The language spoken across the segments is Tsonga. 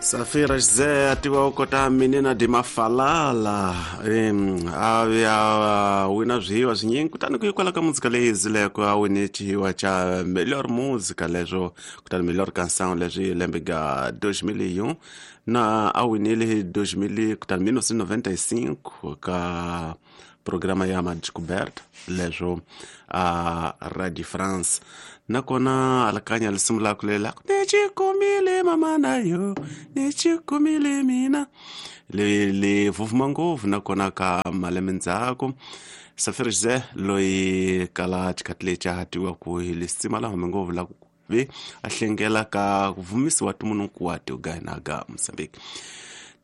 Safira José atiwa u kota Menina de Mafalala a ya wina zwihiwa zwinyingi kutani ku hikwalaho ka muzika leyi zileko a wine xihiwa xa melhor música leswo kutani melhor canção leswi lembe ga 2001 na a winile hi 2000 kutani 1995 ka programa ya Madescoberta leswo a Radio France nakona alakanya lisimu laku lela ni xikumile mama na yo ni xikumile mina li vuvuma ngopfu nakona ka malembe ndzhaku. Safira José loyi kala xikhathi lexi a hatiwa ku hi lisima la hume ngopfu la ku ve a hlengela ka ku vumisiwa timunhu hinkwato ga hina ga Mozambique.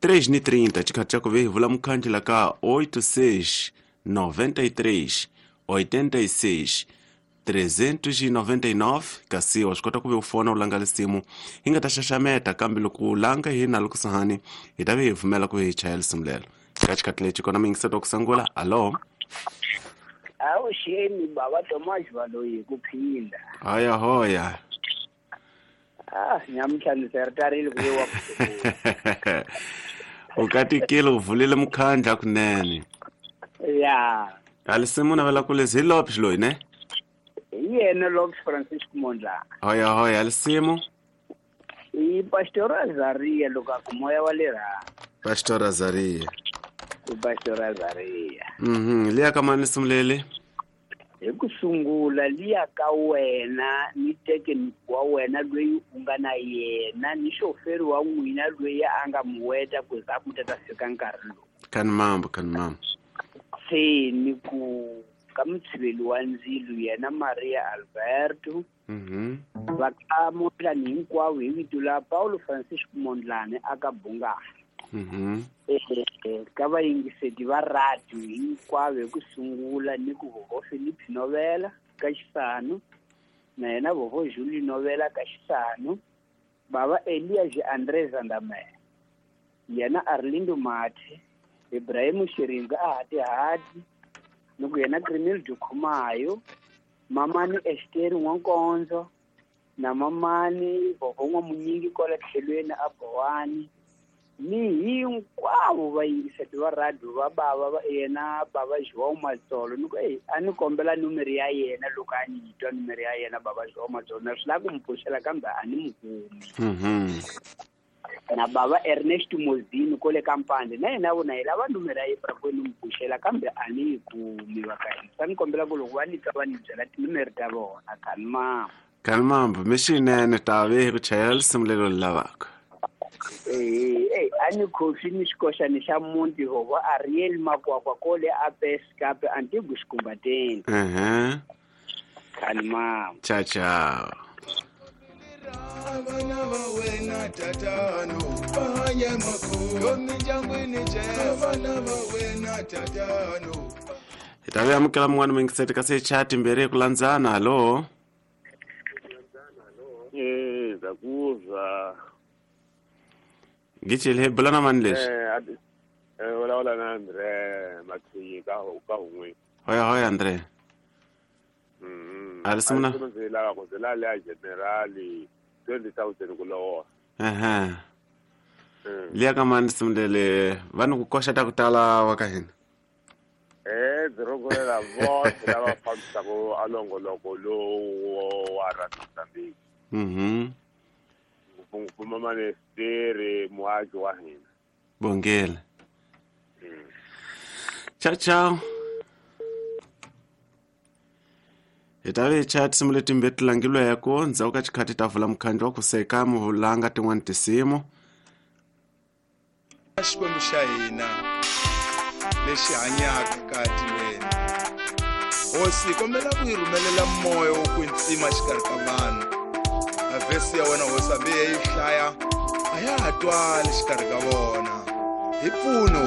3:30 xikhathi xa ku ve hi vula mukhandli la ka 86 93 86 399 kasi wa swi kota ku ve u fona u langa lisimu hi nga ta xaxameta kambe loko u langa hi na loko sahani hi ta ve hi pfumela ku hi chaya lisimu lelo ka xikhathi lexi kona muyingiseti wa ku sungula. Alo. Avuxeni bava Tomas Valoyi ku phinda. Hoya hoya. Ah, nyamuntlha ni sertarile ku wa U katikile u vulile mukhandla kunene. Ya. Alisimu navela ku lezi hi Lopes loyi ne? Hi yena Lopes Francisco Mondlane. Hoya hoya alisimu. I Pastor Azaria loko a ku moya wa le rhangu. Pastor Azaria. I Pastor Azaria. Liya ka mani lisimu leli? Hi ku sungula liya ka wena ni teke wa wena loyi u nga na yena ni xoferi wa n'wina loyi a nga muweta ku za ku ta fika nkarhi lowu. Kani mambo, kani mambo. Se ni ku ka mutshiveli wa ndzilo yena Maria Alberto. Va ka Mondlane hinkwavo hi vito la Paulo Francisco Mondlane aka Bungana. Ka vayingiseti va radio hinkwavo hi ku sungula ni ku vovo Philip Novela ka Xisano na yena vovo Julie Novela ka Xisano, bava Elias André Zandamela, yena Arlindo Mathe, Ibrahim Shiringa a Hati-Hati, ni ku yena Crimil Dukhumayo, mamani Esther N'wankonzo na mamani vovo N'wamunyingi kwala tlhelweni a Bowani, ni hinkwavo vayingiseti va radio va bava va yena bava João Matsolo ni ku a ni kombela numero ya yena loko a ni twa numero ya yena bava João Matsolo na swi lava ku mi pfuxela kambe a ni mu kumi. Na bava Ernest Mozini kole ka Mpande na yena vona hi lava numero ya yena ku ni mu pfuxela kambe a ni yi kumi va ka hina. Sa ni kombela ku loko va ni twa va ni byela tinumero ta vona kani mama. Kani mambo mixinene ta ve ku chayela lisimu lelo lavaka. A ni khofi ni xikoxani xa muti vovo Ariel Makwakwa kole a Peskape Antigu Xikumbateni. Kani mama. Ciao ciao. Vana va wena tatano va hanya makulu mindyangwini vana va wena tatano. Hi ta ve amukela mun'wana muyingiseti kasi chat mbirhi hi ku landzana. Hallo. Ndza Gichile hi bula na mani leswi? Vulavula na Andre Mathinyi ka Hun'we. Hoya hoya Andre. Alisimuna. Ndzi lava ku ndzi lava leya generali 20,000 ku lovola. Liya ka mani simulele va ni ku koxa ta ku tala wa ka hina. Ndzi rhungulela vose lava fambisaka a nongoloko lowu wa Radio Mozambique. Ngopfungopfu mamanesteri muaki wa hina. Bongela. Ciao ciao. Hi ta ve chat tinsimu letimbirhi ti langilweko ndzhaku ka xikhathi ta vula mukhandlu wa ku seka muvulanga tin'wani tinsimu. Xikwembu xa hina lexi hanyaka ka tilweni. Hosi kombela ku yi rhumelela moya wo kwetsima xikarhi ka vanhu. A vhesi ya wena hosi hambi yi hlaya a ya ha twali xikarhi ka vona. Hi pfuni.